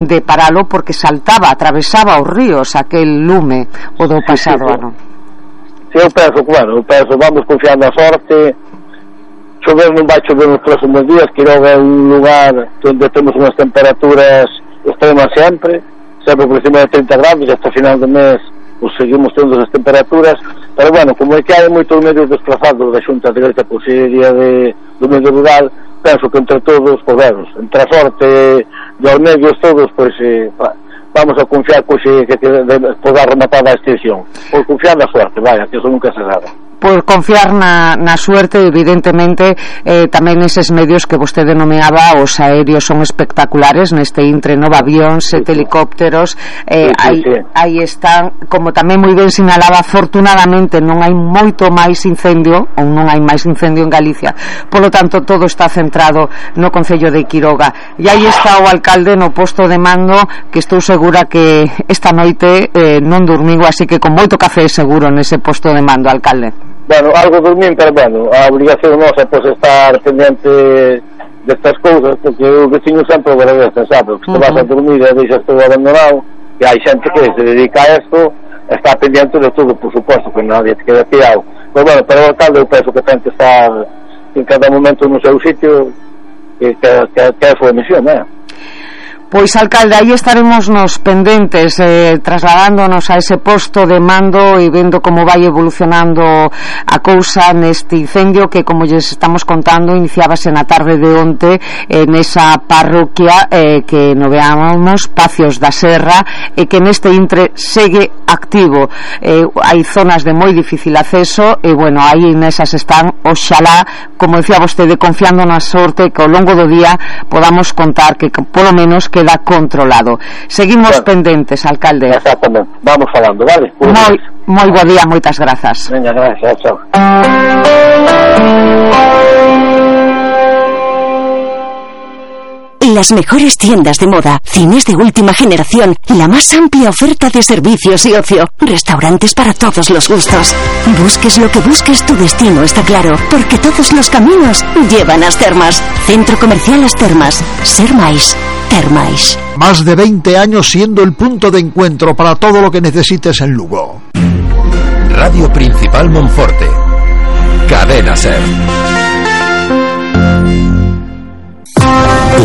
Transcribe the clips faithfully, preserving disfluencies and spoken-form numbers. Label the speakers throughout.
Speaker 1: de paralo porque saltaba, atravesaba os ríos aquel lume o do pasado sí, sí, ano.
Speaker 2: Si, eu penso, claro, eu penso, vamos confiar na sorte. Chover non vai chover nos próximos días. Quiroga é un lugar onde temos unhas temperaturas extremas sempre, sempre por encima de trinta grados, e hasta final do mes pues, seguimos tendo as temperaturas, pero bueno, como é que hai moitos medios desplazados da Xunta Directa Consellería de, do Medio Rural, penso que entre todos, pues, vemos, entre a sorte e os medios todos, pois pues, eh, vamos a confiar pois, pues, que, que poda rematar a extinción, por confiar na sorte, vaya, que eso nunca se sabe.
Speaker 1: Por confiar na, na suerte, evidentemente, eh, tamén eses medios que vostede nomeaba, os aéreos son espectaculares neste intre, nova avións, sí, helicópteros, eh, sí, sí, aí, sí. aí están, como tamén moi ben sinalaba, afortunadamente non hai moito máis incendio, ou non hai máis incendio en Galicia, polo tanto todo está centrado no concello de Quiroga, e aí está o alcalde no posto de mando, que estou segura que esta noite eh, non dormigo, así que con moito café seguro nese posto de mando, alcalde.
Speaker 2: Bueno, algo dormín, pero bueno, a obligación nosa é pues, estar pendiente destas cousas, porque o veciño sempre o agradece, sabe? Que uh-huh. te vas a dormir e deixas todo abandonado, e hai xente que se dedica a esto, está pendiente de todo, por suposto, que nadie te queda tirado. Pero bueno, pero o alcalde eu penso que ten que estar en cada momento no seu sitio, que, que, que, que é a súa misión, eh?
Speaker 1: Pois, alcalde, aí estaremos nos pendentes, eh, trasladándonos a ese posto de mando e vendo como vai evolucionando a cousa neste incendio que, como lles estamos contando, iniciábase na tarde de onte eh, nesa parroquia eh, que noveábamos, Pacios da Serra, e que neste intre segue activo. Eh, hai zonas de moi difícil acceso e, bueno, aí nesas están, oxalá, como decía vostede, confiando na sorte que ao longo do día podamos contar que, polo menos, que queda controlado. Seguimos bueno, pendentes, alcalde.
Speaker 2: Exactamente, vamos falando, vale?
Speaker 1: Moi, moi bo día, moitas grazas.
Speaker 2: Venga, gracias, chao.
Speaker 3: Las mejores tiendas de moda, cines de última generación, la más amplia oferta de servicios y ocio, restaurantes para todos los gustos. Busques lo que busques, tu destino está claro, porque todos los caminos llevan a As Termas. Centro Comercial As Termas. Ser máis. Termais.
Speaker 4: Más de veinte años siendo el punto de encuentro para todo lo que necesites en Lugo.
Speaker 5: Radio Principal Monforte. Cadena Ser.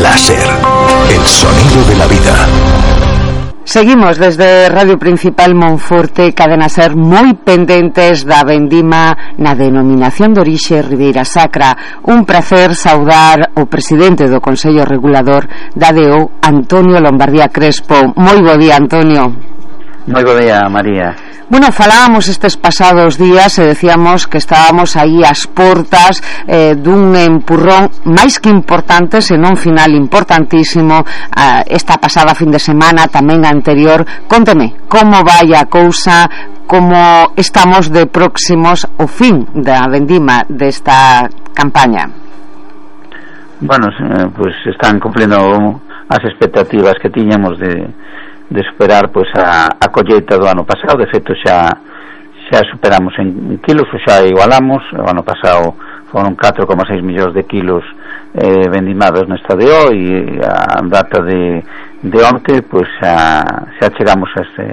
Speaker 5: Láser, el sonido de la vida.
Speaker 1: Seguimos desde Radio Principal Monforte, Cadena Ser, moi pendentes da vendima na denominación de orixe Ribeira Sacra. Un prazer saudar o presidente do Consello Regulador da D O, Antonio Lombardía Crespo. Moi bo día, Antonio.
Speaker 6: Moi bo día, María.
Speaker 1: Bueno, falábamos estes pasados días e decíamos que estábamos aí ás portas eh, dun empurrón máis que importante, senón final importantísimo, eh, esta pasada fin de semana, tamén a anterior. Conteme, como vai a cousa, como estamos de próximos ao fin da vendima desta campaña?
Speaker 6: Bueno, eh, pues están cumplindo as expectativas que tiñamos de de superar pois a, a colleita do ano pasado. De feito xa xa superamos en kilos, ou xa igualamos. O ano pasado foron catro coma seis millóns de kilos eh, vendimados nesta D O, e a data de, de onte pois xa, xa chegamos a ese,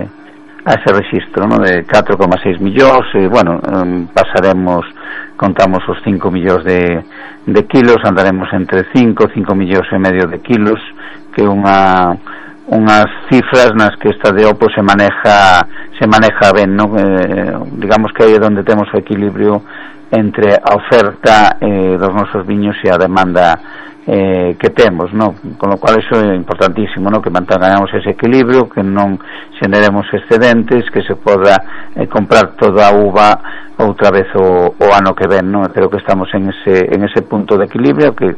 Speaker 6: a ese registro, ¿no? De catro coma seis millóns, e bueno, um, pasaremos, contamos os cinco millóns de, de kilos, andaremos entre cinco, cinco millóns e medio de kilos, que é unha unhas cifras nas que esta D O pues, se maneja se maneja ben, ¿no? Eh, digamos que aí é onde temos o equilibrio entre a oferta eh, dos nosos viños e a demanda eh, que temos, ¿no? Con lo cual eso é importantísimo, ¿no? Que mantengamos ese equilibrio, que non xeneremos excedentes, que se poda eh, comprar toda a uva outra vez o, o ano que ven, ¿no? Creo que estamos en ese en ese punto de equilibrio que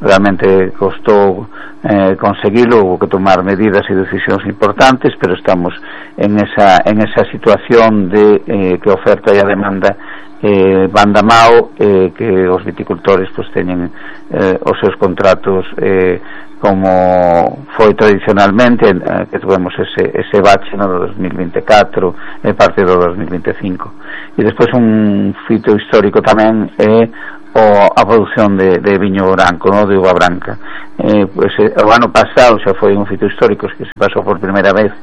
Speaker 6: realmente costou eh, conseguirlo, hubo que tomar medidas e decisións importantes, pero estamos en esa en esa situación de eh, que a oferta e a demanda eh, van da mao, eh, que os viticultores pues teñen eh, os seus contratos eh, como foi tradicionalmente, eh, que tuvemos ese, ese bache no do dos mil vinte e catro e parte do dos mil vinte e cinco. E despois un fito histórico tamén é o a produción de, de viño branco, no? De uva branca. Eh, pues, eh, o ano pasado xa foi un fito histórico que se pasou por primeira vez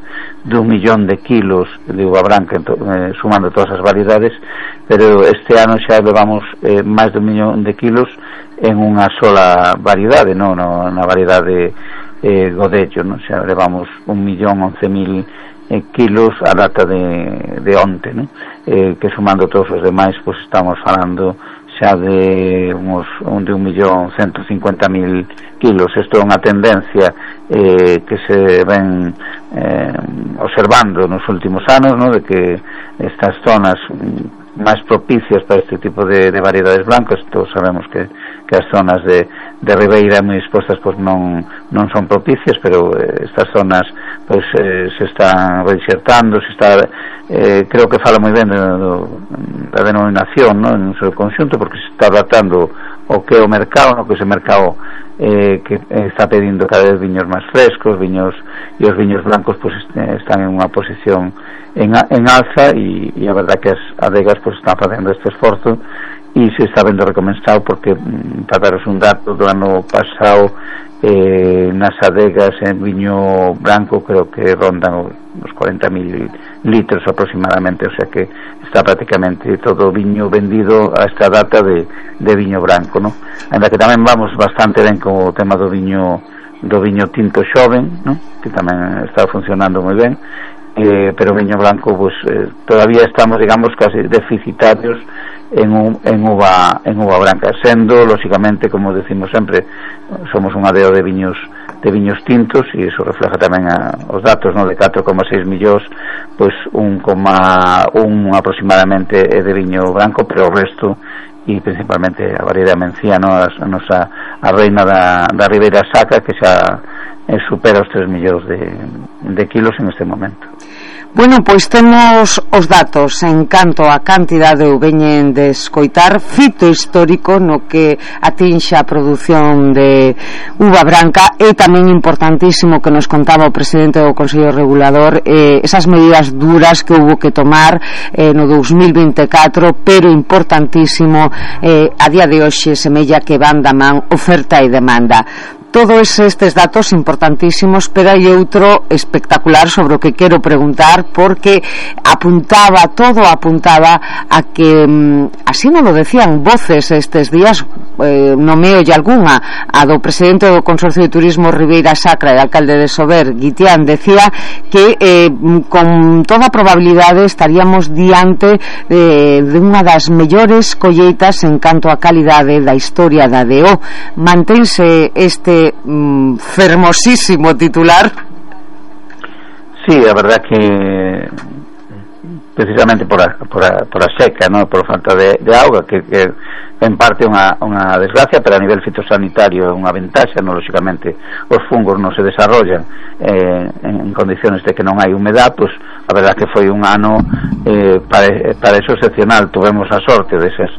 Speaker 6: dun millón de kilos de uva branca, eh, sumando todas as variedades, pero este ano xa levamos eh, máis de un millón de kilos en unha sola variedade, no, no, na variedade eh, Godello, no? Xa levamos un millón once mil eh, kilos a data de, de onte, no? Eh, que sumando todos os demais, pues estamos falando xa de uns de un millón cento cincuenta mil kilos. Isto é unha tendencia eh, que se ven eh, observando nos últimos anos, no? De que estas zonas máis propicias para este tipo de, de variedades blancas, todos sabemos que, que as zonas de, de ribeira moi expostas pues non, non son propicias, pero eh, estas zonas pues eh, se están reinsertando, se está eh, creo que fala moi ben da denominación, no? En un seu conxunto, porque se está adaptando o que é o mercado, no? Que ese mercado eh, que está pedindo cada vez viños máis frescos, viños, e os viños blancos pues están en unha posición en, en alza, e, e a verdad que as adegas pues están facendo este esforzo e se está vendo recompensado, porque para daros un dato do ano pasado eh, nas adegas en viño branco creo que rondan os cuarenta mil litros aproximadamente, o sea que está prácticamente todo o viño vendido a esta data de, de viño branco, ¿no? Ainda que tamén vamos bastante ben con o tema do viño do viño tinto xoven, ¿no? Que tamén está funcionando moi ben, eh, pero viño blanco pues eh, todavía estamos, digamos, casi deficitarios en, un, en uva en uva branca, sendo, lógicamente, como decimos sempre, somos un adeo de viños de viños tintos, e iso refleja tamén a, os datos, no? De catro coma seis millóns, pois un coma un aproximadamente é de viño branco, pero o resto, e principalmente a variedade mencía, no? a, a nosa a reina da, da Ribeira Sacra, que xa eh, supera os tres millóns de, de kilos en este momento.
Speaker 1: Bueno, pois temos os datos en canto a cantidade ou veñen de escoitar, fito histórico no que atinxe a produción de uva branca, e tamén importantísimo que nos contaba o presidente do Consello Regulador, eh, esas medidas duras que houve que tomar eh, no dous mil vinte e catro, pero importantísimo eh, a día de hoxe semella que van da man oferta e demanda. Todos estes datos importantísimos, pero hai outro espectacular sobre o que quero preguntar, porque apuntaba, todo apuntaba a que, así non lo decían voces estes días, eh, nomeo e algunha, a do presidente do Consorcio de Turismo Ribeira Sacra e alcalde de Sober, Guitián, decía que eh, con toda probabilidade estaríamos diante eh, de unha das mellores colleitas en canto a calidade da historia da D O. Mantense este mm, fermosísimo titular?
Speaker 6: Sí, a verdad que precisamente por a, por a, por a seca, ¿no? Por falta de, de auga, que, que en parte unha, unha desgracia, pero a nivel fitosanitario é unha ventaxa, no? Lógicamente os fungos non se desarrollan eh, en condiciones de que non hai humedad, pues a verdad que foi un ano eh, para, para eso excepcional. Tuvemos a sorte desas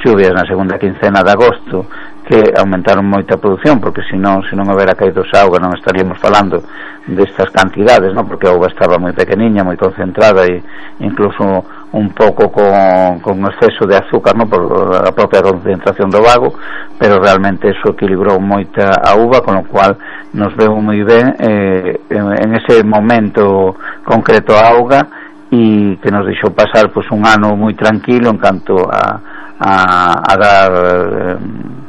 Speaker 6: chuvias na segunda quincena de agosto que aumentaron moita produción, porque se non, se non houbera caído esa auga non estaríamos falando destas cantidades, ¿no? Porque a auga estaba moi pequeniña, moi concentrada, e incluso un pouco con, con exceso de azúcar, ¿no? Por a propia concentración do vago, pero realmente eso equilibrou moita a uva, con lo cual nos veu moi ben eh, en, en ese momento concreto a auga, e que nos deixou pasar pues un ano moi tranquilo en canto a, a, a dar eh,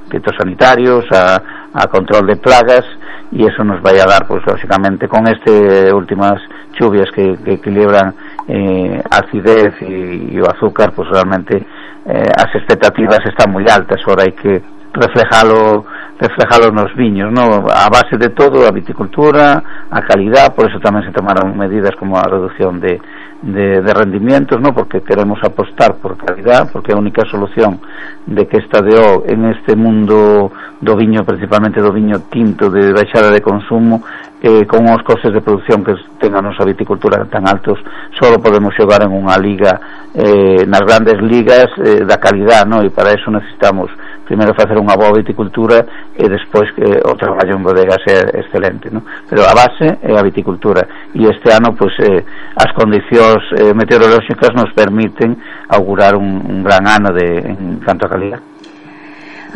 Speaker 6: fitosanitarios, a, a control de plagas, e eso nos vai a dar, pues lógicamente, con este últimas chuvias que, que equilibran eh, acidez e, e o azúcar, pues realmente eh, as expectativas están moi altas. Ahora hai que reflejalo reflejalo nos viños, ¿no? A base de todo, a viticultura, a calidad, por eso tamén se tomaron medidas como a reducción de De, de rendimientos, ¿no? Porque queremos apostar por calidad, porque a única solución de que esta D O en este mundo do viño, principalmente do viño tinto de baixada de consumo, eh, con os costes de producción que ten a nosa viticultura tan altos, solo podemos xogar en unha liga, eh, nas grandes ligas eh, da calidad, ¿no? E para eso necesitamos primeiro facer unha boa viticultura e despois que o traballo en bodegas é excelente, ¿no? Pero a base é a viticultura, e este ano pues eh, as condicións eh, meteorolóxicas nos permiten augurar un, un gran ano de, en canto a calidad.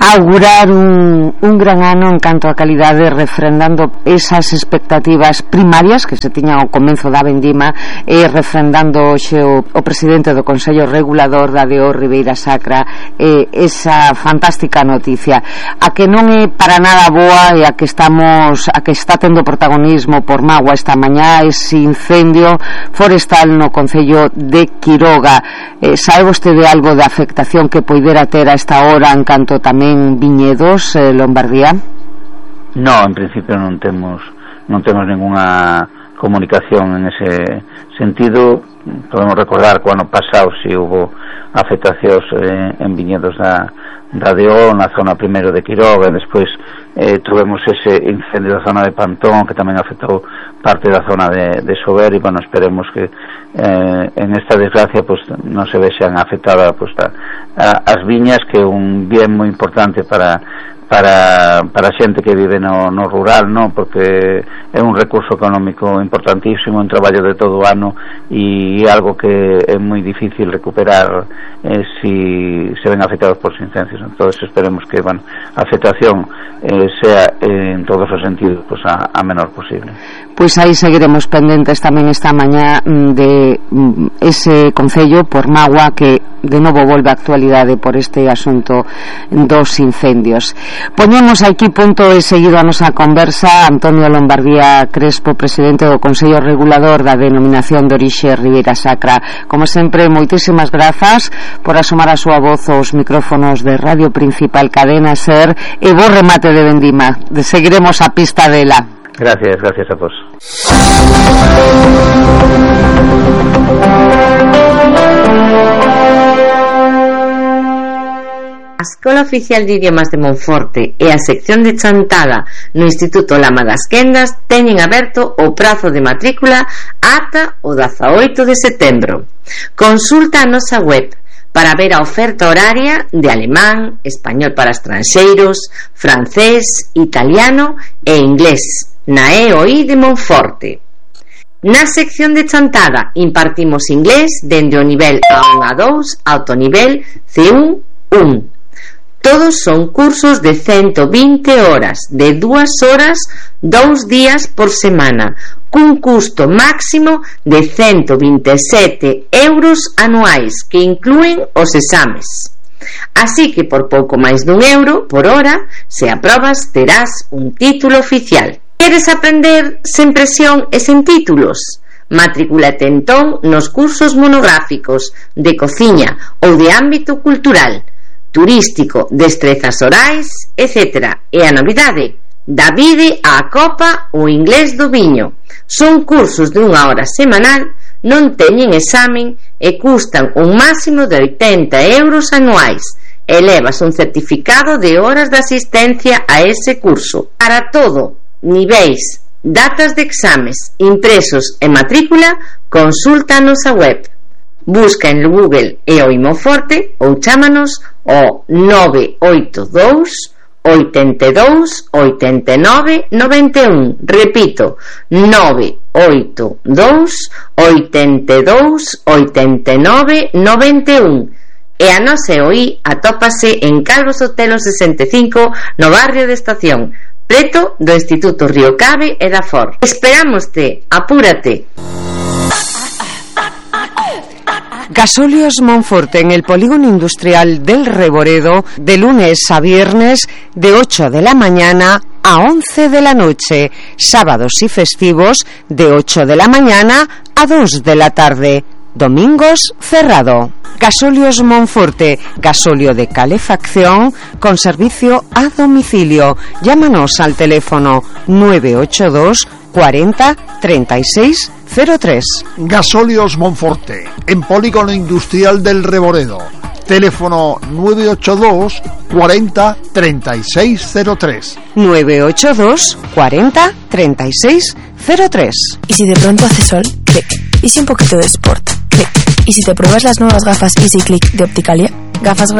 Speaker 1: augurar un, un gran ano en canto a calidade, refrendando esas expectativas primarias que se tiñan ao comenzo da vendima, e refrendando hoxe o, o presidente do Consello Regulador da D O Ribeira Sacra eh, esa fantástica noticia, a que non é para nada boa e a que estamos a que está tendo protagonismo por mágoa esta mañá ese incendio forestal no Concello de Quiroga. Eh, sabe vostede algo da afectación que poidera ter a esta hora en canto tamén viñedos, eh, Lombardía?
Speaker 6: No, en principio non temos non temos ninguna comunicación en ese sentido. Podemos recordar que o ano pasado si hubo afectacións eh, en viñedos da, da D O na zona primeiro de Quiroga, e despois eh, tuvemos ese incendio da zona de Pantón que tamén afectou parte da zona de, de Sober, e bueno, esperemos que eh, en esta desgracia pues, non se vexan afectadas pues, a, a, as viñas, que é un bien moi importante para para para a xente que vive no, no rural, no? Porque é un recurso económico importantísimo, un traballo de todo o ano, e algo que é moi difícil recuperar eh, si se ven afectados por incendios. Entonces esperemos que, bueno, a afectación eh, sea eh, en todos os sentidos pues, a, a menor posible.
Speaker 1: Pois aí seguiremos pendentes tamén esta mañá de ese concello por mágoa que de novo volve a actualidade por este asunto dos incendios. Poñemos aquí punto e seguido a nosa conversa. Antonio Lombardía Crespo, presidente do Consello Regulador da Denominación de Orixe Ribeira Sacra. Como sempre, moitísimas grazas por asomar a súa voz aos micrófonos de Radio Principal Cadena Ser, e bo remate de vendima. Seguiremos a pista dela.
Speaker 6: Gracias, gracias a vos.
Speaker 7: A Escola Oficial de Idiomas de Monforte e a sección de Chantada no Instituto Lama das Quendas teñen aberto o prazo de matrícula ata o dezaoito de setembro. Consulta a nosa web para ver a oferta horaria de alemán, español para estranxeiros, francés, italiano e inglés na E O I de Monforte. Na sección de Chantada impartimos inglés dende o nivel A un a dous ata o nivel C un un. Todos son cursos de ciento vinte horas, de dúas horas, dous días por semana, cun custo máximo de ciento vinte e sete euros anuais, que inclúen os exames. Así que por pouco máis dun euro por hora, se aprobas, terás un título oficial. Queres aprender sen presión e sen títulos? Matricúlate entón nos cursos monográficos de cociña ou de ámbito cultural, turístico, destrezas orais, etcétera. E a novidade, da vide á copa o inglés do viño. Son cursos de unha hora semanal, non teñen examen e custan un máximo de oitenta euros anuais. E levas un certificado de horas de asistencia a ese curso. Para todo, niveis, datas de exames, impresos e matrícula, consulta a nosa web. Busca en Google E O I Monforte ou chámanos ao nove oito dous, oito dous, oito nove, nove un. Repito, nove oito dous, oito dous, oito nove, nove un. E a nosa E O I atópase en Calvo Sotelo sesenta e cinco no barrio de Estación, preto do Instituto Río Cave e da For. Esperámoste, apúrate.
Speaker 1: Gasóleos Monforte en el polígono industrial del Reboredo, de lunes a viernes de ocho de la mañana a once de la noche, sábados y festivos de ocho de la mañana a dos de la tarde, domingos cerrado. Gasóleos Monforte, gasóleo de calefacción con servicio a domicilio. Llámanos al teléfono nueve ocho dos, cuarenta, treinta y seis cero tres.
Speaker 4: Gasóleos Monforte, en polígono industrial del Reboredo. Teléfono nueve ocho dos, cuarenta, treinta y seis cero tres.
Speaker 1: nueve ocho dos, cuarenta, treinta y seis cero tres.
Speaker 8: Y si de pronto hace sol, clic. Y si un poquito de sport, clic. Y si te pruebas las nuevas gafas Easy Click de Opticalia, gafas graduadas